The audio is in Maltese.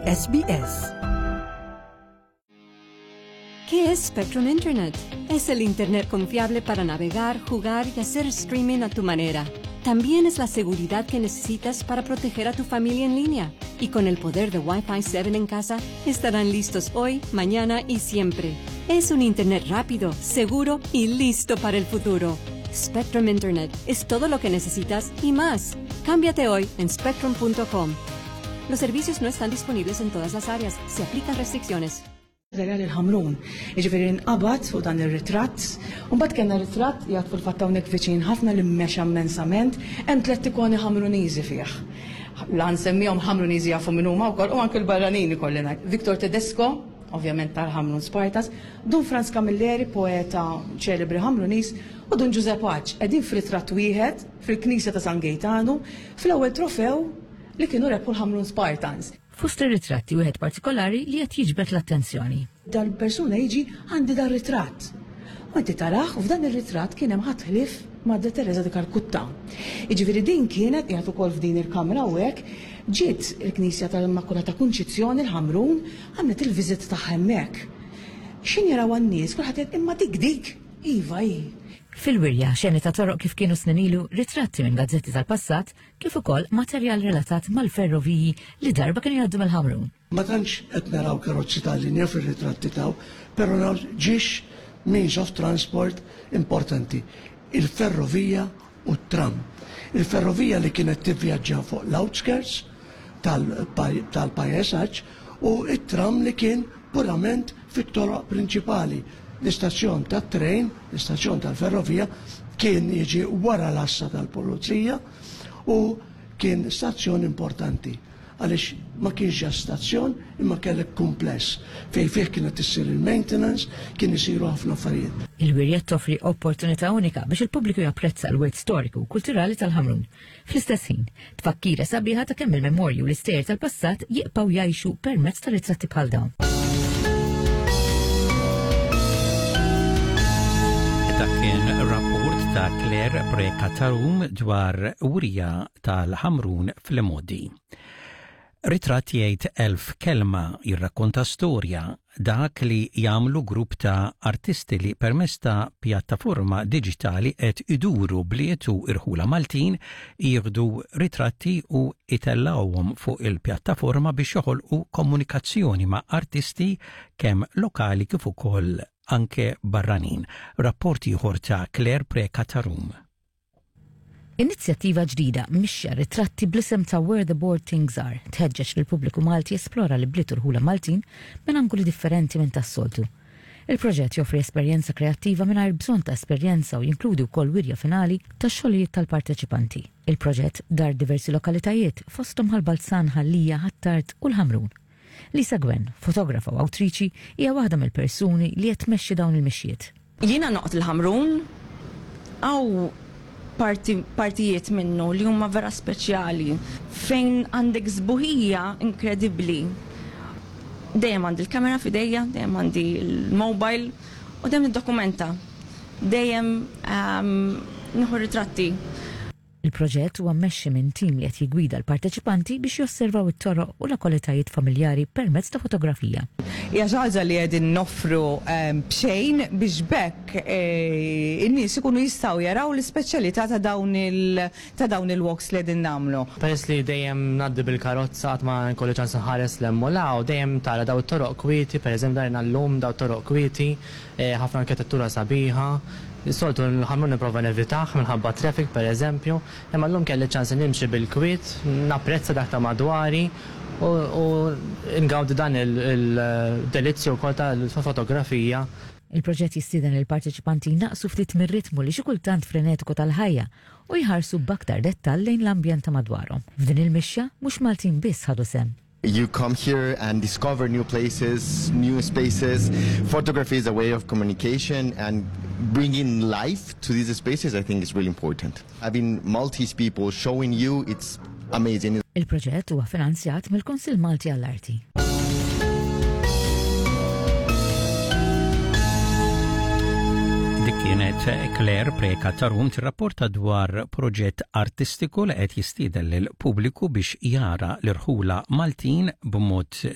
SBS. ¿Qué es Spectrum Internet? Es el Internet confiable para navegar, jugar y hacer streaming a tu manera. También es la seguridad que necesitas para proteger a tu familia en línea. Y con el poder de Wi-Fi 7 en casa, estarán listos hoy, mañana y siempre. Es un Internet rápido, seguro y listo para el futuro. Spectrum Internet es todo lo que necesitas y más. Cámbiate hoy en spectrum.com. Los servicios no están disponibles en todas las áreas. Se aplican restricciones. Żerja lil Ħamrun. Jiġifieri nqabad fuq dan ir-ritratt. U mbagħad kellna ritratt qiegħed fil-fatt hawnhekk viċin ħafna li mexa immensament, hemm tlett ikoni Ħamruniżi fih. La nsemmihom Ħamruniżi jafu min huma wkoll u anke l-barranin ikolli ngħid. Victor Tedesco, ovvjament tal-Ħamrun Spartans, Dun Frans Camilleri, poeta ċelebri Ħamruniż, u Dun Ġużè Pace qegħdin f'ritratt wieħed fil-Knisja ta' San Gejtanu fl-ewwel trofew li kienu rebħu l-Ħamrun Spartans. Fost ir-ritratti wieħed partikolari li qed jiġbed l-attenzjoni. Dal-persuna jiġi għandi dar-ritratt. U inti tarah u f'dan ir-ritratt kien hemm ħadd ħlief Madre Teresa di Calcutta. Jiġifieri din kienet qiegħed ukoll f'din il-kamra hawnhekk, ġiet il-Knisja tal-Immakulata Kunċizzjoni l-Ħamrun, għamlet il-visit tagħha hemmhekk. X'ħin jarawha n-nies kulħadd jgħid imma dik dik! Iva hi. Fil-wirja, xeni ta' toroq kif kienu snin ilu, ritratti minn gazzetti tal-passat, kif ukoll materjal relatat mal-ferroviji li darba kienu jgħaddu mill-Ħamrun. Ma tantx qed naraw karozzi tal-linja fir-ritratti taw, però naraw ġiex means of transport importanti, il-ferrovija u t-tram. Il-ferrovija li kienet tivvjaġġa fuq l-outskirts tal-pajjesaġġ u t-tram li kien purament fit-toroq prinċipali. L-istazzjon tat-trejn, l-istazzjon tal-ferrovija, kien jiġi wara l-għassa tal-pulizija u kien stazzjon importanti għaliex ma kienx ġa stazzjon imma kellek kumpless fejn fih kienet issir il-maintenance, kien isiru ħafna affarijiet. Il-wirja toffri opportunità unika biex il-pubbliku japprezza l-wirt storiku u kulturali tal-Ħamrun. Fl-istess ħin, tfakkira sabiħa ta' kemm il-memorji u l-istejjer tal-passat jibqgħu jgħixu permezz ta' ritratti bħal dawn. Dak kien rapport ta' Claire Preca Tarum dwar wirja tal-Ħamrun fl-Imodi. Ritratt jgħid 1000 kelma, jirrakkonta storja, dak li jagħmlu grupp ta' artisti li permezz ta' pjattaforma diġitali qed iduru bliet u irħula Maltin jieħdu ritratti u jtellgħuhom fuq il-pjattaforma biex joħolqu komunikazzjoni ma' artisti kemm lokali kif ukoll anke barranin. Rapport ieħor ta' Claire Preca ta' Rum. Inizjattiva ġdida, mixja ritratti bl-isem ta' Where the Bored Things Are, tħeġġeġ lill-pubbliku Malti jesplora l-ibliet u rħula Maltin minn angoli differenti minn tas-soltu. Il-proġett joffri esperjenza kreattiva mingħajr bżonn ta' esperjenza u jinkludi wkoll wirja finali tax-xogħlijiet tal-parteċipanti. Il-proġett dar diversi lokalitajiet, fosthom Ħal Balzan, Ħal Lija, Ħ'Attard u l-Ħamrun. Lisa Gwen, fotografa u awtriċi, hija waħda mill-persuni li qed tmexxi dawn il-mixjiet. Jiena noqgħod il-Ħamrun, hawn parti partijiet minnu li huma vera speċjali fejn għandek sbuħija inkredibbli. Dejjem għandi l-kamera f'idejja, dejjem għandi l-mobile u dejjem niddokumenta. Dejjem nieħu ritratti. Il-proġett huwa mmexxi minn tim li qed jiggwida l-parteċipanti biex josservaw it-toroq u l-lokalitajiet familjari permezz ta' fotografija. Hija xi ħaġa li qegħdin noffru b'xejn biex b'hekk in-nies ikunu jistgħu jaraw l-ispeċjalità ta' dawn ta' dawn il-walks li qegħdin nagħmlu. Peress li dejjem ngħaddi bil-karozza qatt ma jkolli ċans inħares 'l hemm u 'l hawn, dejjem tara dawn it-toroq kwieti, pereżempju darna llum dawn it-toroq kwieti, Ħafna arkitettura sabiħa. Is-soltu l-ħamrun nipprova nevitah minħabba t-traffic pereżempju, imma llum kelli ċ-ċans li nimxi bil-kwiet, napprezza dak ta' madwari u ngawdi dan il-delizzju wkoll tal-fotografija. Il-proġett jistieden lill-parteċipanti jnaqqsu ftit mir-ritmu li xi kultant frenetiku tal-ħajja u jħarsu b'aktar dettall lejn l-ambjent ta' madwarhom. F'din il-mixja, mhux Maltin biss ħadu sehem. You come here and discover new places, new spaces. Photography is a way of communication and bringing life to these spaces I think is really important. Having Maltese people showing you it's amazing. Il-proġett huwa finanzjat mill-Kunsill Malti għall-Arti. Dik kienet Claire Preka Tarum tirrapporta dwar proġett artistiku li qed jistieden lill-pubbliku biex jara l-irħula Maltin b'mod